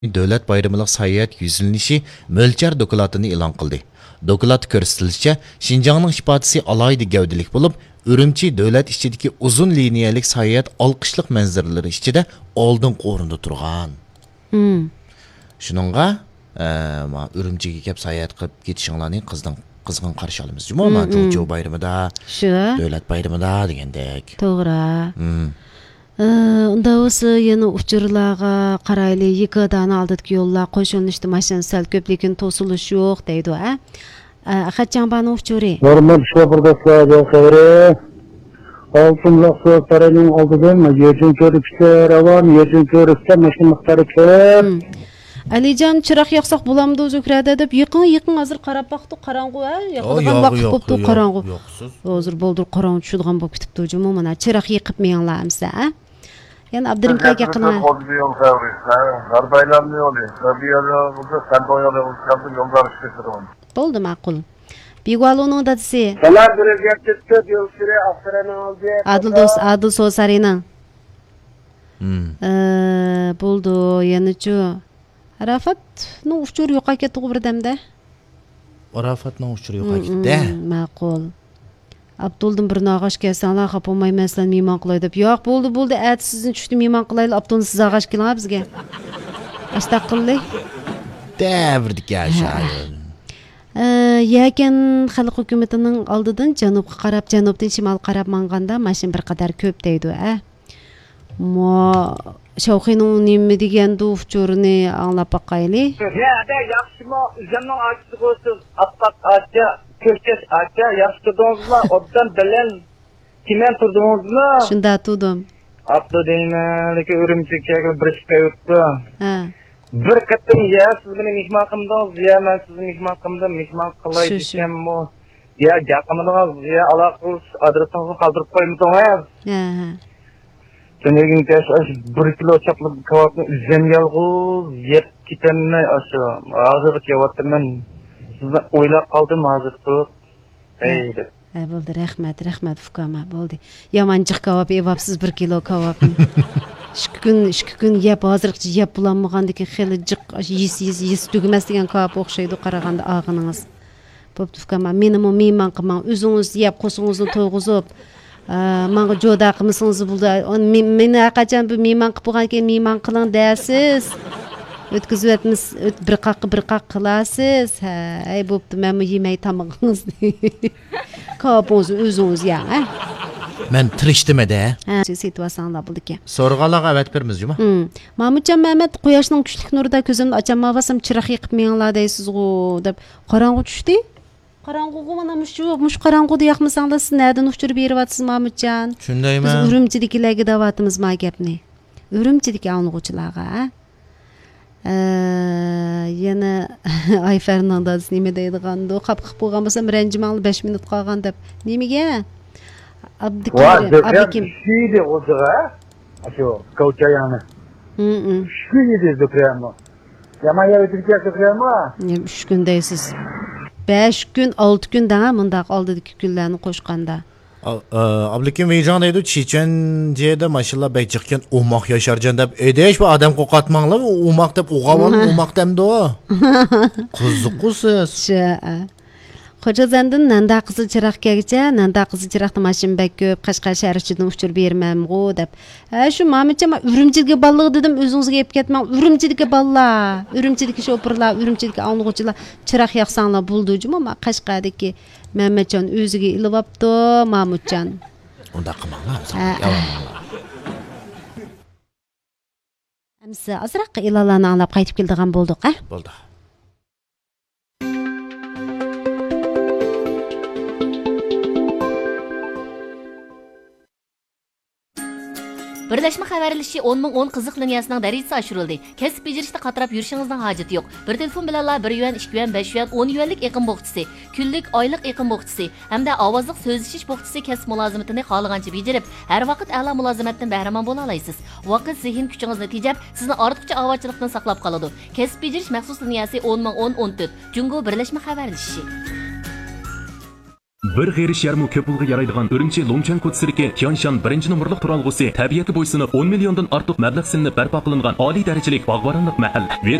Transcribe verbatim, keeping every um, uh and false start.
دۆلەت بايرىملىق ساياھەت يۈزلىنىشى مۆلچەر دوكلاتىنى ئېلان قىلدى. دوكلاتتا كۆرسىتىلىشىچە، شىنجاڭنىڭ ئىپادىسى ئالاھىدە گەۋدىلىك بولۇپ، ئۈرۈمچى دۆلەت ئىچىدىكى ئۇزۇن لىنىيەلىك ساياھەت ئالقىشلىق مەنزىرىلىرى ئىچىدە ئالدىنقى ئورۇندا تۇرغان. مم. شۇنىڭغا، ئە، ما، ئۈرۈمچىگە كەپ ساياھەت قىلىپ كېتىشىڭلارنى قىزدىن، قىزغىن قارشى ئالىمىز جۇمۇ، مم، ما، مم. جۇڭچيۇ بايرىمىدا، شۇ. دۆلەت بايرىمىدا دېگەندەك. توغرا. مم. ئى، ئۇنداق بولسا يەنە ئۇچۇرلارغا قارايلى، يېكىدانە ئالدىدىكى يوللار قوشۇلۇشتا ماشىنا سەل كۆپ، لېكىن توسۇلۇش يوق دەيدۇ، ھە؟ ئە، ئەخەت جاڭبانىڭ ئۇچۇرى. ھۆرمەتلىك شوپۇر دوستلار، يول خەۋىرى. ئالتۇن بۇلاق سۇ سارىيىنىڭ ئالدىدىن يۈرجۈن كۆۋرۈككىچە راۋان، يۈرجۈن كۆۋرۈكتە ماشىنا مىقدارى كۆپ. مم. ئەلىجان، چىراغ ياقساق بولامدۇ، زۆھرە دەپ، يېقىڭ، يېقىڭ، ھازىر قاراپ باقتۇق، قاراڭغۇ، ھە؟ ياقىدىغان ۋاقىت بوپتۇ، قاراڭغۇ. ھازىر بالدۇر قاراڭغۇ چۈشىدىغان بولۇپ كېتىپتۇ جۇمۇ، مانا، چىراغ يېقىپ مېڭىڭلار ئەمسە، ھە؟ يەنە ئابدۇرېھىم كاكا قىلىڭ. يول خەۋىرى، ھە، غەربىي ئايلانما يولى، غەربىي ئايلانما يولى، سەندۇڭ يولى، يولدار ئىشلىتىدۇ. بولدى، ماقۇل. بىگۇالۇنىڭ دادىسى. سالام، بىر ئۆزگەرتىپ تۆت يول سۈرە ئاختىرەنىڭ ئالدى. ئادىل دوست، ئادىل سوسارىنىڭ. مم. ئە، بولدى، يەنىچۇ. ئاراپاتنىڭ ئۇچۇرى يوقاپ كەتتىغۇ بىردەمدە. ئاراپاتنىڭ ئۇچۇرى يوقاپ مم، كەتتى. مم، ماقۇل. ئابدۇلدىن بىر ناغاش كەلسەڭلار، خاپا بولمايمەن، سىلەرنى مېھمان قىلاي دەپ. ياق، بولدى، بولدى، ئەتە سىزنى چۈشتە مېھمان قىلايلى، ئابدۇلنى سىز ئاغاش كېلىڭ بىزگە. ئاشتاق قىللى. دەۋردىكى ھە. شائىر. ئە، يەكەن خەلق ھۆكۈمىتىنىڭ ئالدىدىن جەنۇبقا قاراپ، جەنۇبتىن شىمالغا قاراپ ماڭغاندا ماشىنا بىر قەدەر كۆپ دەيدۇ، ئە. مو، شاۋخىنىڭ نېمە دېگەندۇ ئۇچۇرىنى ئاڭلاپ باقايلى. يەدە ياخشىمۇ؟ ئۆزۈمنىڭ ئاچىسىغۇ سىز ئاتقاق ئاچا، كۆكچەش ئاچا، ياخشى تۇردىڭىزلا؟ ئوبدان بەلەن تىمەن تۇردىڭىزلا؟ شۇنداق تۇردۇم. ئاپتۇ دەيمەن، لېكىن ئۈرۈمچىگە كەلگىلى بىر ئىككى ئاي ئۆتتى. ھە. بىر قېتىم يا سىز مېنى مېھمان قىلمىدىڭىز، يا مەن سىزنى مېھمان قىلمىدىم، مېھمان قىلاي شۇ، شۇ. دېسەممۇ، يا گەپ قىلمىدىڭىز، يا ئالاقە قىلىش ئادرېسىڭىزنى قالدۇرۇپ قويمىدىڭىز. ھە، ھە. شۇنىڭدىن كېيىن ئاشۇ بىر كىلو چاقلىق كاۋاپنى ئۆزۈم يالغۇز يەپ كېتەلمەي، ئاشۇ ھازىرغىچە يەۋاتىمەن. سىزنى ئويلاپ قالدىم ھازىر تۇرۇپ. ھە. ئەي دەپ. ھە، بولدى، رەھمەت، رەھمەت، ئۇكام، ھە، بولدى. يامان جىق كاۋاپ يەۋاپسىز، بىر كىلو كاۋاپنى. ئىككى كۈن، ئىككى كۈن يەپ، ھازىرغىچە يەپ بولالمىغاندىكىن خېلى جىق، يېسە، يېسە، يېسە تۈگىمەس دېگەن كاۋاپ ئوخشايدۇ قارىغاندا ئالغىنىڭىز. بوپتۇ ئۇكام، مېنىمۇ مېھمان قىلماڭ، ئۆزىڭىز يەپ، قورسىقىڭىزنى تويغۇزۇپ، ئە، ماڭا جودا قىلمىسىڭىز بولىدۇ. ئۇنى مې-، مېنى ھەرقاچان بىر مېھمان قىلىپ بولغاندىكىن مېھمان قىلىڭ دەرسىز. ئۆتكۈزۈۋەتمىس-، ئۆت-، بىر قاققا، بىر قاق قىلارسىز. ھە، ئەي، بوپتۇ، مەنمۇ يېمەي تامىقىڭىزنى. كاۋاپىڭىزنى ئۆزىڭىز يەڭ، ھە. مەن تىرىشتىم-دە. ھە، سېتىۋالساڭلار بولىدىكەن. سورىغانلارغا ئەۋەتىپ بېرىمىز جۇمۇ. ھىم. مامۇتجان مەمەت، قۇياشنىڭ كۈچلۈك نۇرىدا كۆزۈمنى ئاچالمايۋاتسام، چىراغ يېقىپ مېڭىڭلار دەيسىزغۇ، دەپ. قاراڭغۇ چۈشتى. قاراڭغۇغۇ مانا مۇشۇ، مۇشۇ قاراڭغۇدا ياقمىساڭلار، سىز نەدىن ئۇچۇر بېرىۋاتىسىز، مامۇتجان؟ شۇندايمۇ؟ بىز ئۈرۈمچىدىكىلەرگە دەۋاتىمىز ما گەپنى. ئۈرۈمچىدىكى ئاڭلىغۇچىلارغا، ھە؟ ئە، يەنە ئايفەرنىڭ دادىسى نېمە دەيدىغاندۇ؟ خاپا خىپ بولغان بولسام، رەنجىمەڭلار، بەش مىنۇت قالغان دەپ. نېمىگە؟ ۋا، ئابدۇكېرىم، زۆھرەم ئابدۇكېرىم. ئىششىيدى غوجىغا. ئاشۇ كاۋچاياڭنى. ھىم، ھىم. ئىششىيدى زۆھرەممۇ. يامان يەر ئۆتۈپ كەتتى، ئۇكام. نېمە ئۈچ كۈن دەيسىز؟ بەش كۈن، ئالتە كۈن دەڭە، مۇنداق ئالدىدىكى كۈنلەرنى قوشقاندا. ئا-، ئا-، ئابلىكىم ۋېيجاڭ دەيدۇ، چېچەنجيېدە ماشىنىلار بەك جىقكەن، ئوماق ياشارجان دەپ. ئەيدەش، بۇ ئادەم قورقاتماڭلار، ئوماق دەپ، ئوغاۋان ئوماق دەمدۇ. قىزىققۇ سىز. شۇ، ئا. خوجازەندىن نەندە قىزىل چىراغ كەلگىچە، نەندە قىزىل چىراغدا ماشىنا بەك كۆپ، قەشقەر شەھەر ئىچىدىن ئۇچۇر بېرىمەنغۇ دەپ. ھە، شۇ مامۇتجان، مەن ئۈرۈمچىدىكى بالىلارغا دېدىم، ئۆزىڭىزگە ئېلىپ كەتمەڭ. ئۈرۈمچىدىكى بالىلار، ئۈرۈمچىدىكى شوپۇرلار، ئۈرۈمچىدىكى ئاڭلىغۇچىلار، چىراغ ياقساڭلار بولىدۇ جۇمۇ، ما قەشقەردىكى مەمەتجان ئۆزىگە ئېلىۋاپتۇ، مامۇتجان. ئۇنداق قىلماڭلار، ھە، ياۋانلار. ئەمسە ئازراق ئېلانلارنى ئاڭلاپ قايتىپ كېلىدىغان بولدۇق، ھە؟ بولدى. بىرلەشمە خەۋەرلىشىشى ئون مىڭ ئون قىزىق لىنىيەسىنىڭ دەرىجىسى ئاشۇرۇلدى. كەسىپ بېجىرىشتە قاتراپ يۈرۈشىڭىزنىڭ ھاجىتى يوق. بىر تېلېفون بىلەنلا بىر يۈەن، ئىككى يۈەن، بەش يۈەن، ئون يۈەنلىك ئېقىم بوخچىسى، كۈنلۈك، ئايلىق ئېقىم بوخچىسى ھەمدە ئاۋازلىق سۆزلىشىش بوخچىسى كەسىپ مۇلازىمىتىنى خالىغانچە بېجىرىپ، ھەر ۋاقىت ئەلا مۇلازىمەتتىن بەھرىمەن بولالايسىز. ۋاقىت، زېھىن كۈچىڭىزنى تېجەپ، سىزنى ئارتۇقچە ئاۋارىچىلىقتىن ساقلاپ قالىدۇ. كەسىپ بېجىرىش مەخسۇس لىنىيەسى ئون مىڭ ئون ئون تۆت، جۇڭگو بىرلەشمە خەۋەرلىشىشى. بىر غېرىش يەرمۇ كۆپ پۇلغا يارايدىغان ئۈرۈمچى لۇڭچۈەن كوچىسىدىكى تيانشان بىرىنچى نومۇرلۇق تۇرالغۇسى تەبىئەتكە بويسۇنۇپ، ئون مىليوندىن ئارتۇق مەبلەغ سېلىنىپ بەرپا قىلىنغان ئالىي دەرىجىلىك باغۋەنلىك مەھەل.